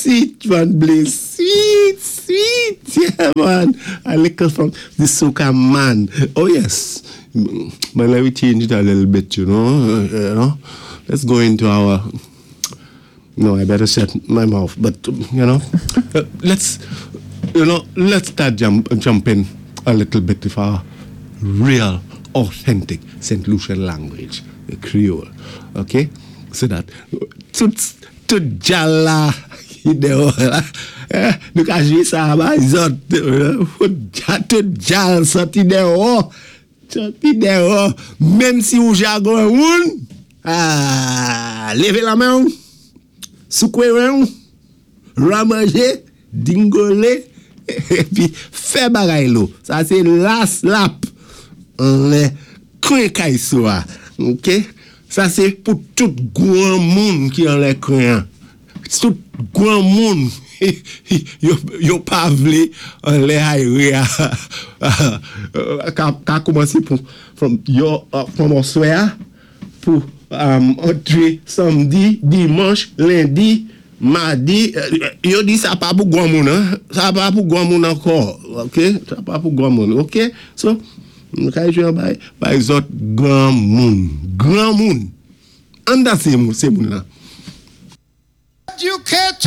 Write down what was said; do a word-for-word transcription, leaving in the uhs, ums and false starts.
Sweet man, Blaze. Sweet, sweet. Yeah, man. A little from the soca man. Oh, yes. But let me change it a little bit, you know. Uh, you know. Let's go into our. No, I better shut my mouth. But, you know, uh, let's, you know, let's start jump, jumping a little bit with our real, authentic Saint Lucian language, the Creole. Okay? So that, tout, tout djal la, ki déwò la, eh, nou ka jwé sa bay zòt, tout djal sòti déwò, sòti déwò, menm si ou jagon moun, ah, lévé lamen, soukouwé wen, ramanjé, dingolé, épi fè bagay lo. Sa sé last lap, anlè kwen kay sou a, ok? Sa sé pou tout gwanmoun ki anlè kwen. Tout gwanmoun yo, yo pa vlé anlè ayé a ka, ka koumansé pou from yo from aswè a pou um, antré samdi, dimanch, lendi, madi, yo di sa pa pou gwanmoun, hein? Sa pa pou gwanmoun ankò, ok? Sa pa pou gwanmoun, ok? So, nou ka jwé bay, bay zòt gwanmoun, gwanmoun. An danse sé moun la. Educator.